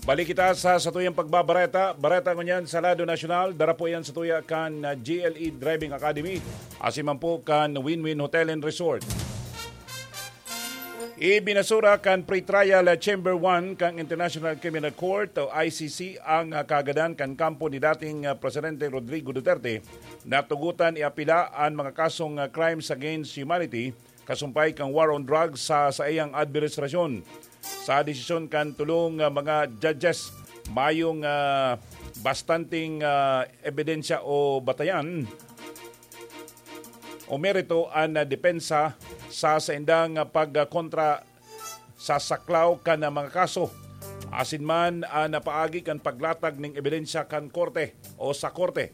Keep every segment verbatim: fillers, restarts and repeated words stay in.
Balik kita sa satuyang pagbabareta. Bareta ngunyan sa lado nasyonal, dara po yan satuya kan, ah, G L E Driving Academy, asin man po kan Win-Win Hotel and Resort. Ibinasura kan pre-trial, ah, Chamber one kan International Criminal Court o I C C ang, ah, kagadan kan kampo ni dating, ah, Presidente Rodrigo Duterte na tugotan iapila an mga kasong, ah, crimes against humanity kasumpay kan war on drugs sa saiyang administrasyon. Sa desisyon kan tolong, ah, mga judges, mayong, ah, bastanteng, ah, ebidensya o batayan o merito an, ah, depensa sa saindang, ah, pagkontra sa saklaw kan, ah, mga kaso. Asin man, ah, napaagi kan paglatag ning ebidensya kan korte o sa korte.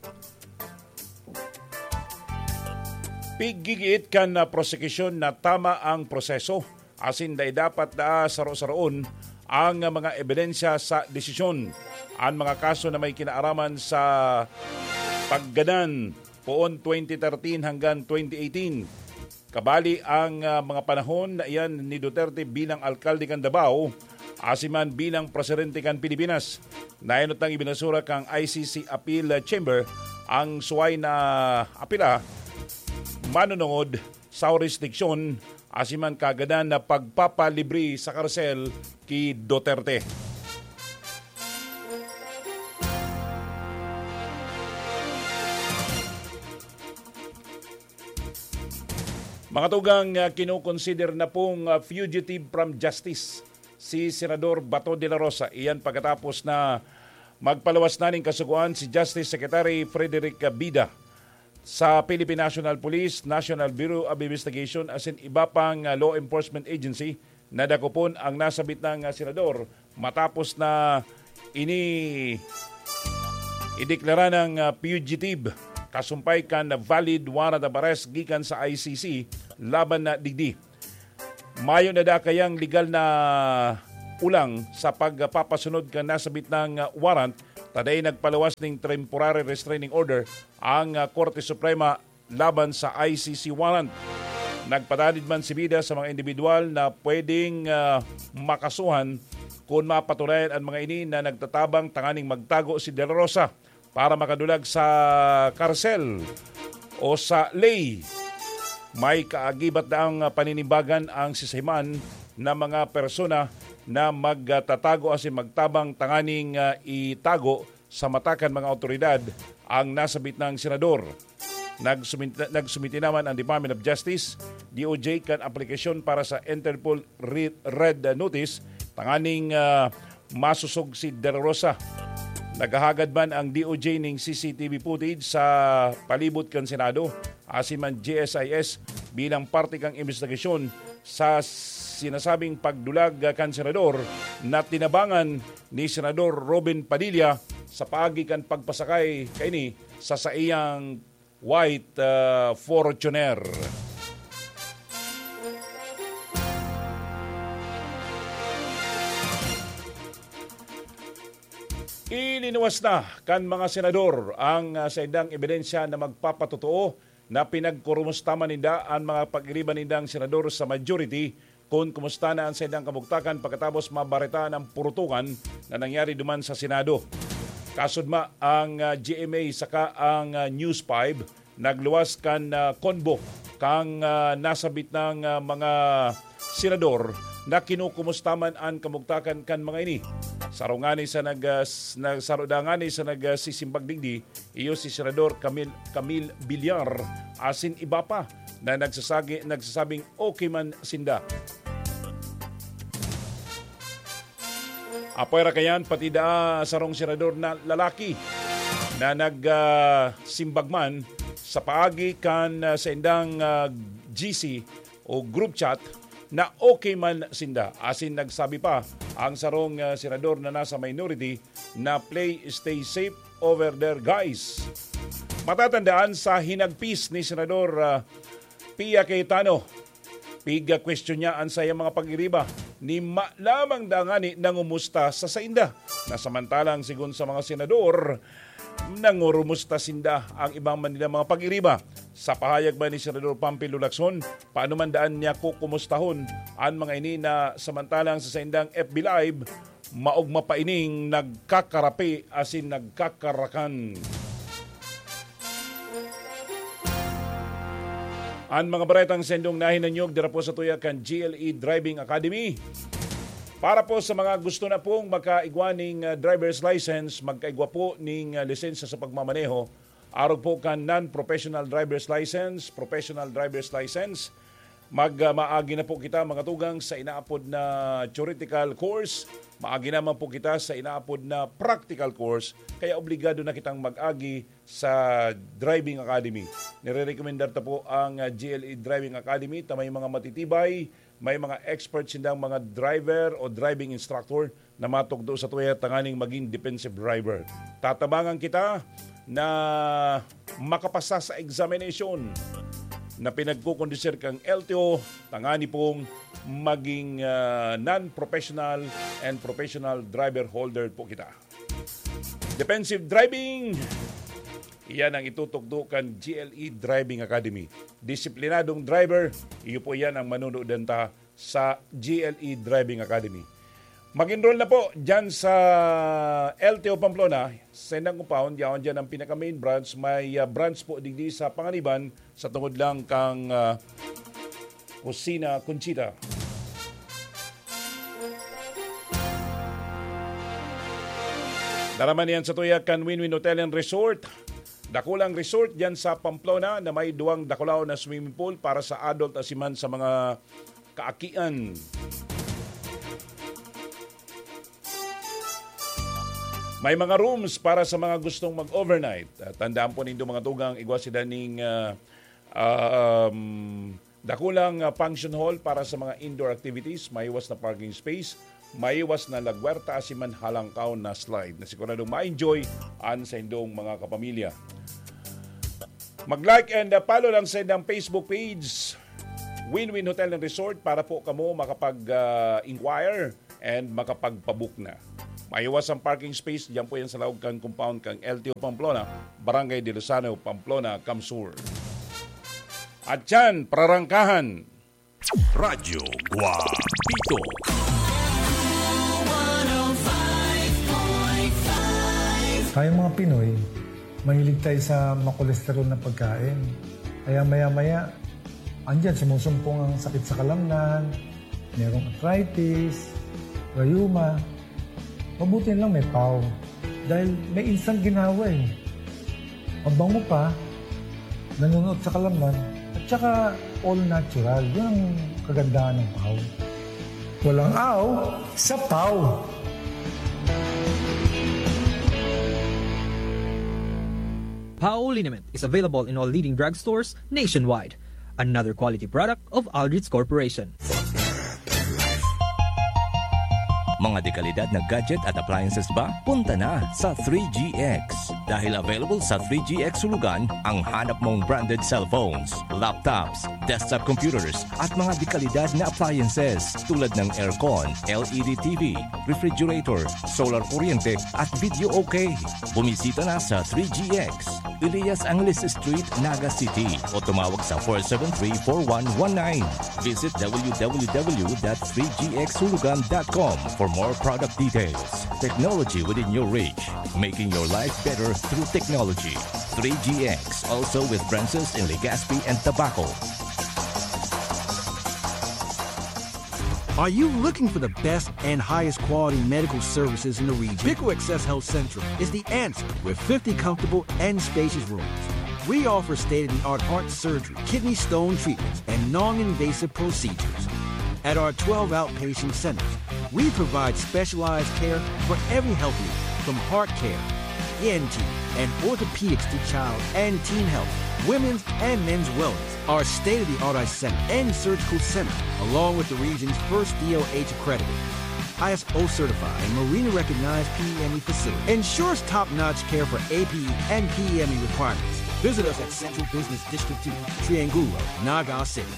Piggigiit kan, ah, prosekusyon na tama ang proseso, asin dai dapat na saro-saroon ang mga ebidensya sa desisyon. An mga kaso na may kinaaraman sa paggadan poon twenty thirteen hanggang twenty eighteen. Kabali ang, ah, mga panahon na iyan ni Duterte bilang alkalde kan Davao, asin man bilang presidente kan Pilipinas. Naenot nang ibinasura kan I C C Appeal Chamber ang suway na apila, manunungod sa jurisdiksyon, asin man kagadan na pagpapalibre sa karsel ki Duterte. Mga tugang, ah, kinokonsider na pong, ah, fugitive from justice si Senador Bato de la Rosa. Iyan pagkatapos na magpaluwas na ning kasugoan si Justice Secretary Frederick Bida. Sa Philippine National Police, National Bureau of Investigation asin iba pang, ah, law enforcement agency, nadakopon ang nasabit na, ah, senador matapos na ini ideklara ng, ah, fugitive kasumpay kan valid warrant of arrest gikan sa I C C laban na digdi. Mayo na dakayang legal na ulang sa pagpapasunod kan nasabit na, ah, warrant, ta dai nagpaluwas ning temporary restraining order ang, ah, Korte Suprema laban sa I C C warrant. Nagpatanid man si Bida sa mga individual na pwedeng, ah, makasuhan kun mapatunayan an mga ini na nagtatabang tanganing magtago si De La Rosa para makadulag sa karsel o sa ley. May kaagibat na ang paninimbagan ang sisiman na mga persona na magtatago asin magtabang tanganing, ah, itago sa mata kan mga awtoridad ang nasabit na senador. Nagsumit-, nagsumiti naman ang Department of Justice, D O J, kan aplikasyon para sa Interpol Re-, Red Notice tanganing, ah, masosog si De La Rosa. Naghahagad man ang D O J ning C C T V footage sa palibot kan Senado, asin man G S I S bilang parte kan imbestigasyon sa sinasabing pagdulag kan senador na tinabangan ni Senador Robin Padilla sa paagi kan pagpasakay kaini sa saiyang white, ah, Fortuner. Ilinuwas na kan mga senador ang, ah, saindang ebidensya na magpapatotoo na pinagkurumusta man ninda an mga pag-iriba nindang senador sa majority kun kumusta na an saindang kabugtakan pagkatapos mabaretaan ang purutukan na nangyari duman sa Senado. Kasudma ang, ah, G M A saka ang, ah, News five nagluwas kan, ah, convo kan, ah, nasabit na, ah, mga senador na kinukumusta man an kamugtakan kan mga ini. Saro ngani sa nag-, ah, s-, na-, saro da ngani sa nag, ah, sisimbag digdi, iyo si Senador Camille, Camille Villar asin iba pa na nagsasagi-, nagsasabing okay man sinda. Apwera kayan, pati da sarong senador na lalaki na nag, ah, simbag man sa paagi kan, ah, saindang, ah, G C o group chat na okay man sinda. Asin nagsabi pa ang sarong, ah, senador na nasa minority na, "Play stay safe over there, guys." Matatandaan sa hinagpis ni Senador, ah, Pia Cayetano, pigkwestiyon niya an saiyang mga pag-iriba ni ma lamang da ngani nangumusta sa sainda, na samantalang sigon sa mga senador, nangurumusta sinda ang ibang man nilang mga pag-iriba. Sa pahayag man ni Senador Panfilo Lacson, paano man daan niya kukumustahon an mga ini na samantalang sa saindang F B Live, maogma pa ining nagkakarapi asin nagkakarakan. An mga baretang sendong nahinanyog dira po sa tuya kan G L E Driving Academy. Para po sa mga gusto na pong makaigwa ning, ah, driver's license, magkaigwa po ning, ah, lisensya sa pagmamaneho, arog po kan non-professional driver's license, professional driver's license, mag, ah, maagi na po kita, mga tugang, sa inaapod na theoretical course, maagi naman po kita sa inaapod na practical course, kaya obligado na kitang mag-agi sa Driving Academy. Nire-recommendar ta po ang, ah, G L E Driving Academy, ta may mga matitibay, may mga expert sindang mga driver o driving instructor na matukdo sa tuya tanganing maging defensive driver. Tatabangan kita na makapasa sa examination na pinagkukondisir kang L T O, tangani pong maging, ah, non-professional and professional driver holder po kita. Defensive driving, iyan ang itutukdo kan G L E Driving Academy. Disiplinadong driver, iyo po iyan ang manunudan ta sa G L E Driving Academy. Mag-enroll na po dyan sa L T O Pamplona, sa indang compound, yaon dyan ang pinaka-main branch. May, ah, branch po digdi sa Panganiban, sa tungod lang kang, ah, Kusina Conchita. Daraman yan sa tuya kan Win-Win Hotel and Resort. Dakulang resort dyan sa Pamplona na may duwang dakulaw na swimming pool para sa adult asin man sa mga kaakian. May mga rooms para sa mga gustong mag-overnight. Ah, tandaan po nindo, mga tugang, igwa sila ning, ah, um, dakulang, ah, function hall para sa mga indoor activities, maiwas na parking space, maiwas na lagwerta asin man halangkaw na slide na siguradong ma-enjoy an sa indong mga kapamilya. Mag-like and, ah, follow lang sa indang Facebook page, Win-Win Hotel and Resort, para po kamo makapag, ah, inquire and makapagpabook na. Maiwas ang parking space, diyan po yan sa laog kan compound kan L T O Pamplona, Barangay de Lozano, Pamplona, Camsur. At yan, prarangkahan. Radyo Guapito. Tayong mga Pinoy, mahilig tayo sa makolesterol na pagkain. Kaya maya-maya, andyan, sumusumpong ang sakit sa kalamnan, merong arthritis, rayuma. Mabuti lang may pau. Dahil may instant ginawa eh. Mabango pa, nanunuot sa kalamnan, at saka all natural. Yun ang kagandahan ng pau. Walang aw sa pau. Pau liniment is available in all leading drugstores nationwide. Another quality product of Aldrich Corporation. Mga dekalidad na gadget at appliances ba? Punta na sa three G X. Dahil available sa three G X Hulugan ang hanap mong branded cellphones, laptops, desktop computers, at mga dekalidad na appliances tulad ng aircon, L E D T V, refrigerator, solar kuryente, at video okay. Bumisita na sa three G X, Elias Angeles Street, Naga City, o tumawag sa four seven three, four one one nine. Visit w w w dot three g x hulugan dot com for more product details. Technology within your reach, making your life better through technology. Three G X, also with branches in Legazpi and Tabaco. Are you looking for the best and highest quality medical services in the region? Bico Access Health Central is the answer with fifty comfortable and spacious rooms. We offer state-of-the-art heart surgery, kidney stone treatments, and non-invasive procedures. At our twelve outpatient centers, we provide specialized care for every health need, from heart care, E N T, and orthopedics to child and teen health, women's and men's wellness. Our state-of-the-art eye center and surgical center, along with the region's first D O H accredited, I S O certified, and Marina recognized P E M E facility, ensures top-notch care for A P E and P E M E requirements. Visit us at Central Business District two, Triangulo, Naga City.